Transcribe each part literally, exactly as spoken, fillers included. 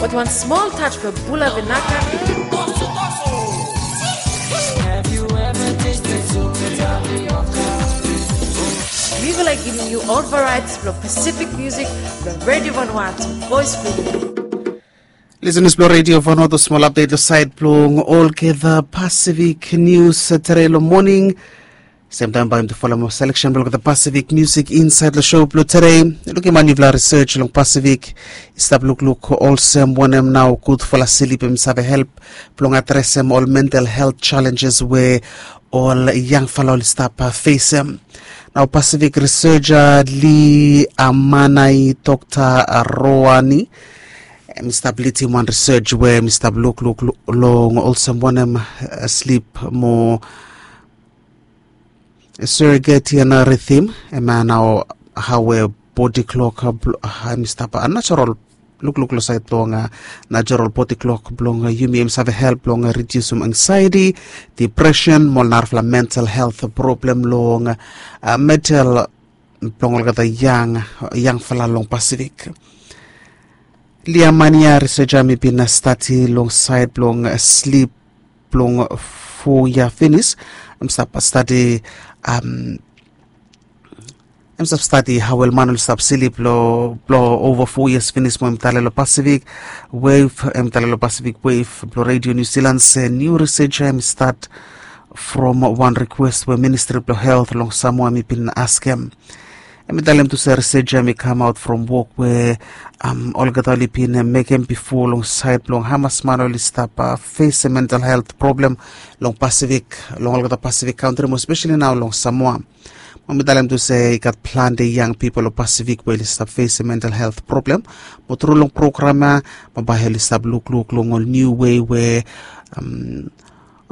With one small touch for Bula Vinaka. We will like giving you all varieties of Pacific music from Radio Vanuatu, Voice Freedom. Listeners blong Radio Vanuatu, small update lo side blong olgeta Pacific News, uh, today lo morning. Same time bae yumi tu folem selection blong the Pacific music inside lo show blong today. Lukim man yufala research long Pacific i stap lukluk olsem wanem nao gudfala slip em save help blong adresem ol mental health challenges we ol yangfala oli stap, uh, facem. Nao Pacific researcher Li Amanai, Dr Roani, em i stap lidim wan research we em i stap lukluk long olsem wanem, uh, slip mo circadian rhythm, em ya nao hao we body clock, uh, blo- uh, em i stap, uh, natural, lukluk long sait blong, uh, natural body clock blong, uh, yumi, em save help blong, uh, reducem anxiety, depression mo ol narafala mental health problem long, uh, mental blong olgeta yang, yangfala long Pacific. Li Amanai, researcher, em i bin stadi long sait blong, uh, slip blong fo yia finis. Em stap stadi, um, em stap stadi hao ol man oli stap slip blong, blong ova fo yias finis mo em i talem long Pacific Wave, em i talem long Pacific Wave blong Radio New Zealand se niu research ya em i stat from wan request we Ministry blong Health long Samoa em i bin askem. Em i talem tu se research ya em i kamaot from wok we, um, olgeta oli bin mekem bifo long sait blong hamas man oli stap, uh, fes mental health problem long Pacific, long olgeta Pacific kantri mo especially nao long Samoa. Mo em i talem tu se i gat plante yang pipol long Pacific we oli stap fes mental health problem. Mo tru long program ya, mo bae oli stap lukluk long ol niu wei we, um,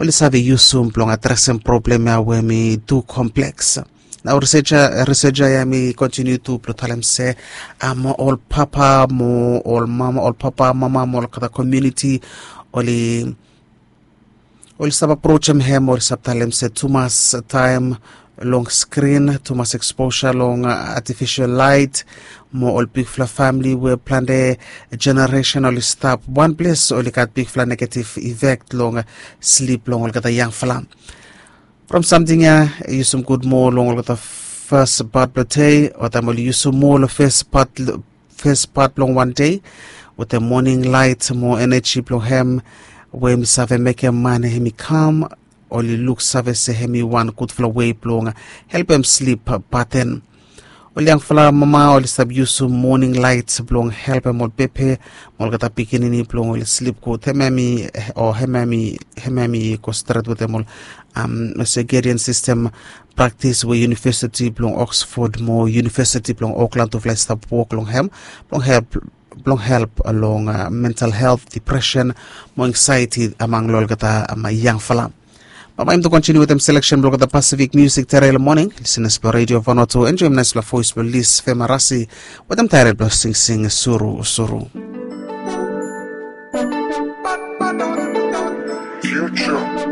oli save yusum blong adresem problem ya we em i tu kompleks. Nao researcher, researcher ya em i kontiniu tu blong talem se, um, ol papa mo ol mama, ol papa, mama mo olgeta komuniti oli, oli stap aprojem hem, oli stap talem se tumas taem long skrin, tumas exposure long, uh, artificial light, mo ol bigfala famili we plante jeneresen oli stap wan ples oli gat bigfala negative effect long, uh, slip long olgeta yangfala. From samting ya, yusum gud moa long olgeta fes pat blong dei, o taem oli yusum moa long fes pat, fes pat blong wan dei, wetem moning lait mo eneji blong hem, we em i save mekem man hem i kam, oli luksave se hem i wan gudfala wei blong helpem slip paten. Ol yangfala mama oli stap yusum moning lait blong helpem ol bebe mo olgeta pikinini blong oli slip gud. Hem hem i, o hem hem i, hem hem i go stret wetem ol, um, circadian system praktis we University blong Oxford mo University blong Auckland tufala i stap wok long hem blong help, blong help long, uh, mental health, depression mo anxiety among long olgeta, um, yangfala. Bae yumi tu kontiniu wetem selection blong olgeta Pacific music today long morning. Listeners blong Radio Vanuatu, enjoem naesfala voes blong Lis Femarasi wetem taetel blong Singsing Surusuru. Future.